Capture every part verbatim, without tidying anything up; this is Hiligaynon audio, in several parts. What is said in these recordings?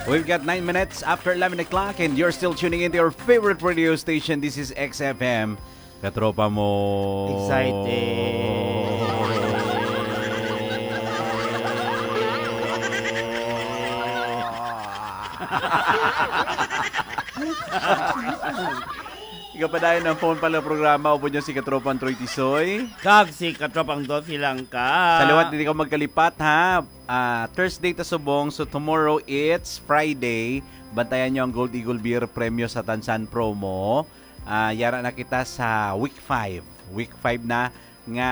We've got nine minutes after eleven o'clock and you're still tuning in to your favorite radio station. This is X F M. Katropa mo. Excited. Ikaw pa dayon ang phone pala programa, upod niyo si Katropang Troy Tisoy. Kag si Katropang Dolphy lang ka. Sa liwat, hindi ka magkalipat, ha? Ah, Thursday ta subong, so tomorrow it's Friday. Bantayan niyo ang Gold Eagle Beer Premyo sa Tansan promo. Ah, yara na kita sa week five. Week five na nga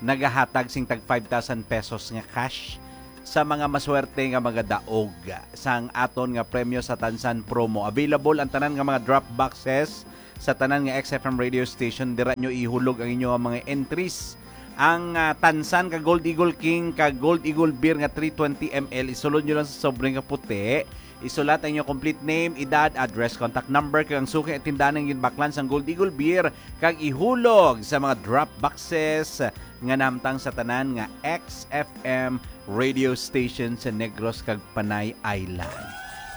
nagahatag sing tag five thousand pesos nga cash sa mga maswerte nga magadaog sang aton nga premyo sa Tansan promo. Available ang tanan nga mga drop boxes sa tanan nga X F M radio station. Dira nyo ihulog ang inyo mga entries. Ang ah, Tansan ka Gold Eagle King ka Gold Eagle Beer nga three twenty M L, isulod nyo lang sa sobre nga puti. Isulat ang inyong complete name, edad, address, contact number, kag ang suki at tindahan nga ginbaklan sang Gold Eagle Beer, kag ihulog sa mga drop boxes nga nahamtang sa tanan nga X F M radio station sa Negros kag Panay Island.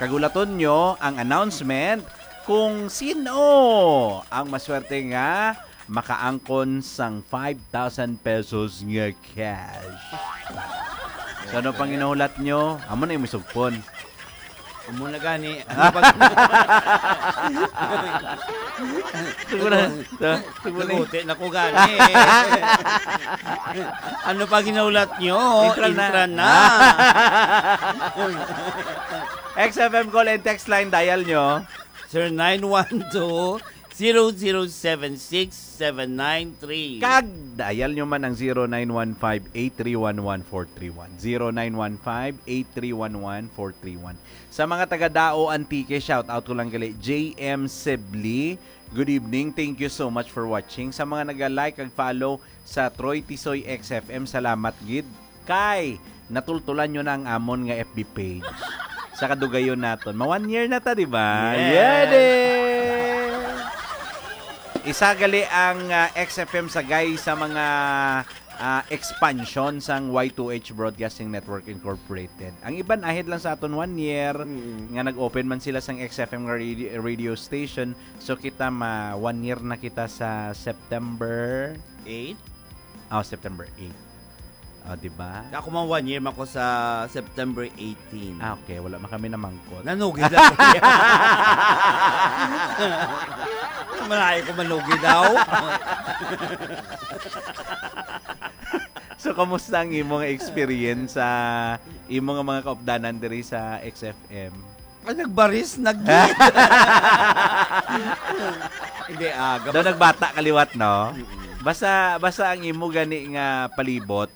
Kag hulaton nyo ang announcement kung sino ang maswerte nga makaangkon sang five thousand pesos nga cash. So, ano pang ginahulat nyo? Amo na yung sugpon. Amo na gani. Ano pag Tugmo na. Sa, tugmo na. Naguti na ko gani. Ano pa ginahulat nyo? Intra na. Intra na. X F M call and text line, dial nyo. Sir, nine one two, zero zero seven six seven nine three. Kag dial nyo man ang zero nine one five, eight three one, one four three one. Zero nine one five, eight three one, one four three one. Sa mga taga Dao, Antique, shout out ko lang gali, J M Sibley. Good evening. Thank you so much for watching. Sa mga naga-like kag follow sa Troy Tisoy X F M, salamat gid. Kay natultulan nyo na ang amon nga F B page. Sa kadugayon naton. Ma one year na ta, di ba? Yes. Yay! Isa gali ang ah, X F M sagay sa mga ah, expansion sang Y two H Broadcasting Network Incorporated. Ang iban ahead lang sa aton one year Mm. nga nag-open man sila sang X F M nga radio, radio station. So kita ma one year na kita sa September Eight? Oh, September eight. Oh, di ba? Ako man one year man ko sa September eighteen. Ah, okay. Wala man kami namangkot. Nanugid lang. Malayo ko manugid daw. So, kamusta ang imo nga experience sa imo nga mga kaupdanan diri sa X F M? Ah, nagbaris, nag- Hindi, ah, Daw gabas- nagbata ka liwat, no? Mm-mm. Basta, basta ang imo gani nga palibot,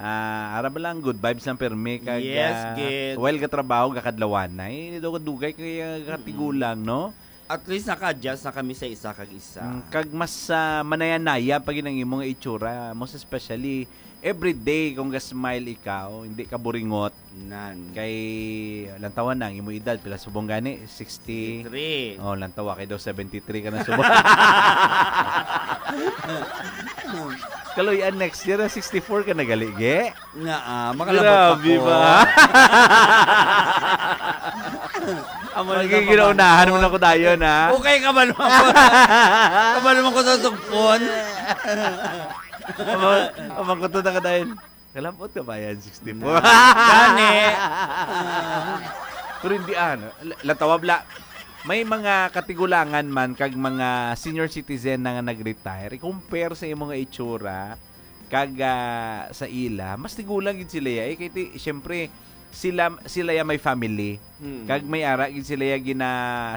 ah, ara ba lang, good vibes lang permi kag, Yes, ah, gid. While gatrabaho, gakadlawanay, dugay-dugay kay, ah, Mm-mm. katigulang, no? At least naka-adjust na kami sa isa kag isa. Mm, kag mas, ah, manaya-naya pa gid ang imo nga itsura, most especially every day kung ga-smile ikaw, hindi ka buringot. Nan. Kay lantawan na ang imo edad, pila subong gani? Sixty. Sixty-three. Oh, lantawa kay daw seventy-three ka na subong. Kaluy-an next year, ah, sixty-four ka na gali, ge? Nga, ah, makalabot Grabe ako. Ba? Amo na Magiging lang, ginaunahan mo pamangkot. Na ko dayon, ha? Okay, kabalo man ko. Kabalo man ko sa sugpon. Amo, amo ko to na ka dayon. Kalabot ka ba yan, sixty-four? Na. Gani. Pero hindi, ano, la-, latawa bla. May mga katigulangan man kag mga senior citizen na nga nag-retire, i-compare sa imo nga itsura, kag, ah, sa ila, mas tigulang gid sila ya. Eh, kay ti-, siyempre, sila, sila ya may family. Hmm. Kag may ara gid sila ya gina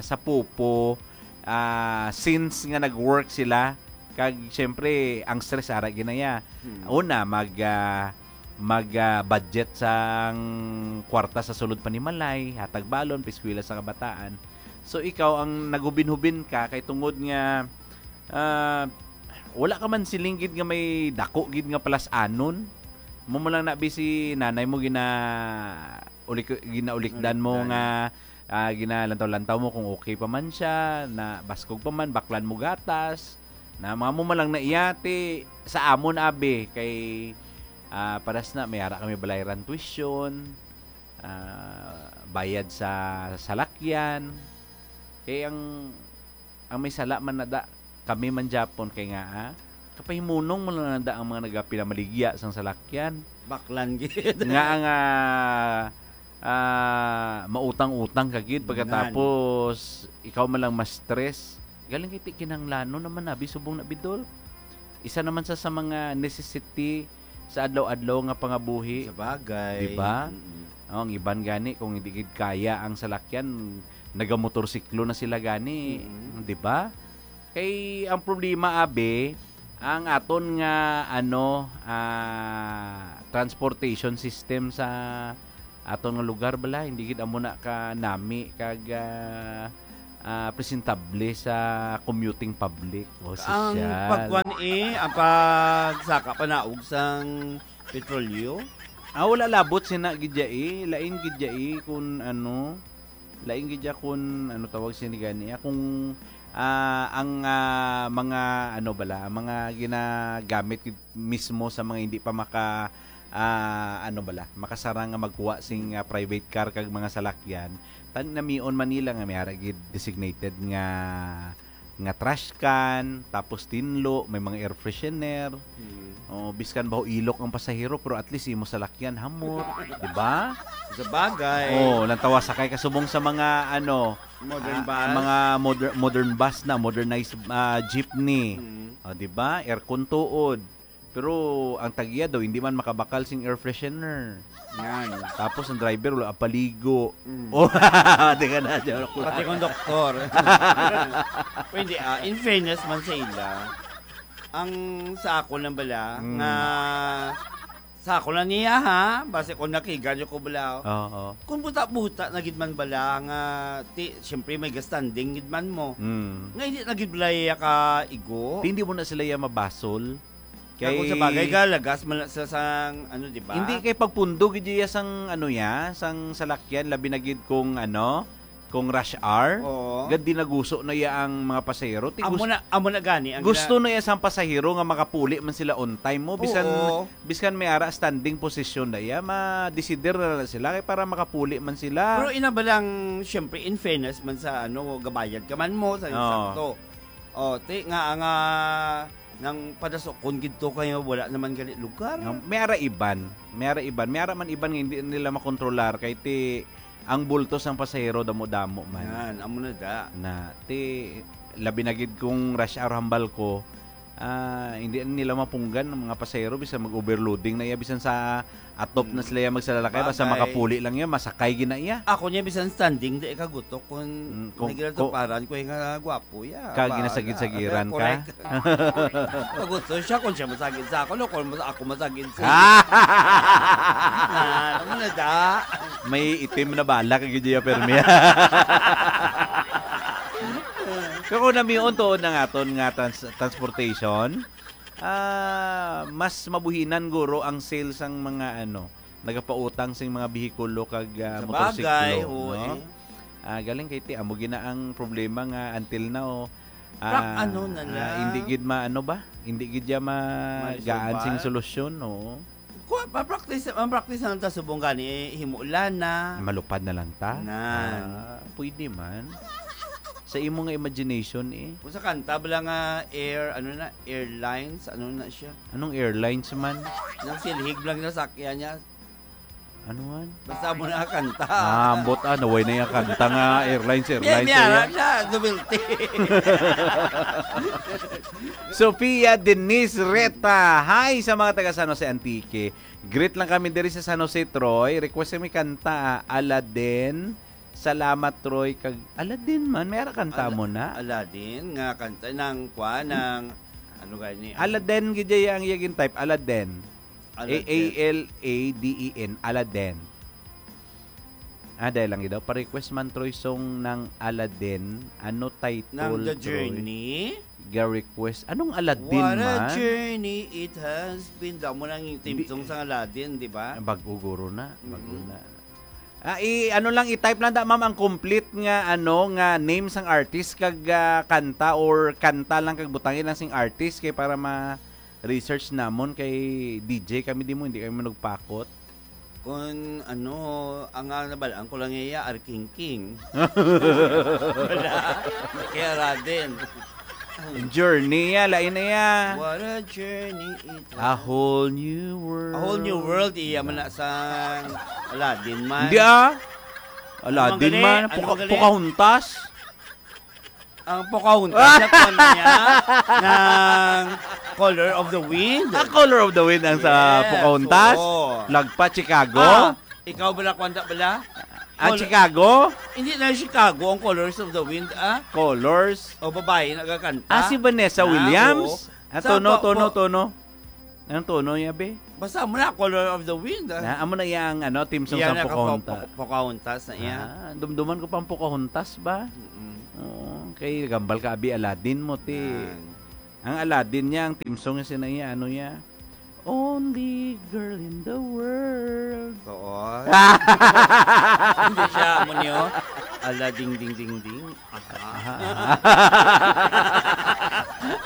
sa pupo, ah, since nga nag-work sila. Kag, siyempre, ang stress ara gid na ya. Hmm. Una, mag, ah, mag, ah, budget sang kwarta sa sulod panimalay, hatag balon, piskwela sa kabataan. So, ikaw ang naghubin-hubin ka kay tungod nga, ah, wala ka man siling gid nga may dako gid nga palas-anon. Mo mo lang na bi si nanay mo gina ulik-, ginaulikdan mo Ulikdan. Nga, ah, ginalantaw-lantaw mo kung okay pa man siya, na baskog pa man, baklan mo gatas, na mga mo man lang na iyati sa amon abi kay, ah, paras na may ara kami balayran tuition. ah, bayad sa salakyan. Kay ang, ang may sala man na da, kami man gyapon kay nga, ah, kapahimunong mo lang na da ang mga nagapinamaligya sang salakyan. Baklan gid. Nga nga, ah, mautang-utang ka gid Nan. pagkatapos ikaw man lang ma-stress. Galing kay ti kinahanglanon naman na, bi subong na, Bidol. Isa naman sa, sa mga necessity sa adlaw-adlaw nga pangabuhi. Sa bagay. Di ba? Mm-mm. Oh, ang iban gani, kung hindi gid kaya ang salakyan, nagamotorsiklo na sila gani. Mm-mm. Di ba? Kay ang problema, abi, ang aton nga, ano, ah, transportation system sa aton nga lugar bala, hindi gid amo na ka nami kag, ah, ah, presentable sa commuting public o Ang sosyal. pagkuan, eh, ang pagsaka panaog sang petrolyo? Ah, wala labot sina gid ya, eh. Lain gid ya, eh, kun ano, lain gid ya kun ano tawag sini gani, ah, kung, ah, ang, ah, mga ano bala, ang mga ginagamit gid mismo sa mga hindi pa maka, ah, ano bala, makasarang nga magkuha sing, ah, private car kag mga salakyan, tan namion man nila nga may ara gid designated nga, nga trash can, tapos tinlo, may mga air freshener. Mm. Oh, biskan baho ilok ang pasahero, pero at least imo salakyan, hamot, di ba? Sa bagay. Oh, lantawa sakay ka subong sa mga, ano, Modern ah, bus. mga moder-, modern bus na, modernized, ah, jeepney. Mm. Oh, di ba? Aircon tuod. Pero ang tag-iya daw, hindi man makabakal sing air freshener. Yan. Tapos ang driver, wala paligo. Mm. Oh, di ka na, joke lang. Pati kung doktor. Pwede, ah, in fairness man sa ila, ang sa ako lang bala, Mm. nga sa ako lang niya, ha? Basi kung nakigan niyo ko bala, oh. Oo. Kung buta-buta na gid man bala, nga, ti, siyempre may gastanding gid man mo. Mm. Nga hindi na gid bala iya ka igo. Ti, hindi mo na sila iya mabasol. Kay kung sa bagay, Kay galagas man sa, sang, ano, di ba? Hindi kay pagpundo gid iya sang, ano, ya, sang salakyan, labi na gid kung, ano, kung rush hour. Oo. Gad dinaguso na iya ang mga pasahero. Ti Amo gus-, na, amo na gani ang gusto gina- na iya sang pasahero nga makapuli man sila on time mo. Bisan, Oo. bisan may ara standing position na iya, ma-desider na lang sila kay para makapuli man sila. Pero ina ba lang, syempre, in fairness man sa, ano, gabayad ka man mo, sa Oo. sakto. O, ti, nga, nga, nang padasokon gid to kay wala naman gali lugar. Nga, may ara iban. May ara iban. May ara man iban nga hindi nila makontrolar kay ti ang bulto sang pasahero damo-damo man. Yan, amo na da. Na, ti, labi na gid kung rush hour hambal ko, ah, hindi nila mapunggan ang mga pasahero bisan mag-overloading na iya, bisan sa atop na Mm. sila iya magsalalakay, basta Bagay. makapuli lang iya, masakay gid na iya. Ako niya bisan standing, di ka gutok kung Mm, kung, nagilatuparan ko yung nga gwapo, ya. Ka Bahala. ginasagid-sagiran ka? Correct. Pag gusto siya, kung siya masagid sa ako, no, kung mas-, ako masagid sa Ah! Ah, ano na da? May itim na bala ka gid iya, permi. Pero kung namion tuod ang aton nga trans-, transportation, ah, mas mabuhinan guro ang sales sang mga, ano, nagapautang sing mga behikulo kag, ah, Sa motorsiklo, bagay, oo, no? eh. Ah, galing kay ti, amo gina ang problema nga until now, Prak-, ah, ano na ah, lang. hindi gid ma-, ano ba? Hindi gid ya magaan sing Maisulbad. solusyon, oo. Kuha, pa-practice, ang practice na lang ta subong gani, eh, himulan na. Malupad na lang ta? Nan. Ah, pwede man. Sa imo nga imagination, eh. Kung sa kanta, bala nga air, ano na, airlines, ano na siya? Anong airlines man? Nang silhig lang na sakyan niya. Ano man? Basta mo na kanta. Ah, ambot, ah, naway na yung kanta nga airlines, May, airlines, may airlines. aral na, novelty. Sophia Denise Reta. Hi sa mga taga San Jose, Antique. Greet lang kami diri sa San Jose, Troy. Request kami kanta, ah, Aladdin. Salamat, Troy. Kag Aladdin man, may ara kanta Ala-, mo na. Aladdin, nga kanta ng, kwa, ng, ano gani? Aladdin, gid ya ang iyang type. Aladdin. Aladdin. A A L A D E N, Aladdin. Ah, dahil lang daw, pa-request man, Troy, song ng Aladdin. Ano title, Ng The Troy? Journey? Ga-request. Anong Aladdin What a man? journey it has been. Damo nang theme Hindi. song sa Aladdin, di ba? Bago guro na. Bago Mm. na. Ah, i-, ano lang, i-type lang da, ma'am, ang complete nga, ano, nga name sang artist kag, ah, kanta or kanta lang kag butangi lang sing artist kay para ma-research namon kay D J kami di mo, hindi kami manugpakot. Kung ano, ang, ah, nabalaan ko lang iya, Arkingking. Wala. Kaya Radin. Journey ya, lain na ya. What a journey it A whole new world. A whole new world, iya man na sang Aladdin man. Hindi ah. Aladdin Ano man, man gali? Ano Poca- man gali? Pocahontas. Ang Pocahontas na kuwan niya ng Color of the Wind. Ah, Color of the Wind ang sa Yes, Pocahontas. Oo. Lagpa, Chicago. Ah, ikaw bala, kwanta bala? Ah, Col- Chicago? Hindi na Chicago ang Colors of the Wind, ah? Colors. O babae nagakanta? Ah, si Vanessa Ah, Williams? Oo. Ah, Sa tono, po- tono, po- tono. Anong tono niya, be? Basta mo na Color of the Wind, ah. Na, amo na iya ang ano, theme song Iya sa na ka- Pocahontas. Po- Pocahontas na iya. Ah, dumduman ko pang Pocahontas ba? Mm-mm. Oo, kay gambal ka abi Aladdin mo ti. Yan. Ang Aladdin niya, ang theme song niya, sina iya, ano niya? Only girl in the world. Oo. Hindi siya, amo niyo. Ala, ding, ding, ding, ding. Aha.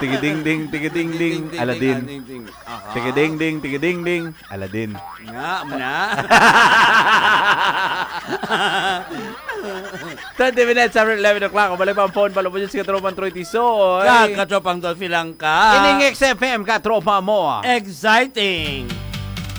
Tigiding-ding, tigiding-ding, Aladdin. Ding, ding. Aha. Tigiding-ding, tigiding-ding, Aladdin. Nga, amo na. Twenty minutes after eleven o'clock. Balik pa ang phone. Palubos yung si Katropang Troy Tisoy. Kag Katropang Dolphy lang ka. Ining X F M, Katropa mo. Exciting.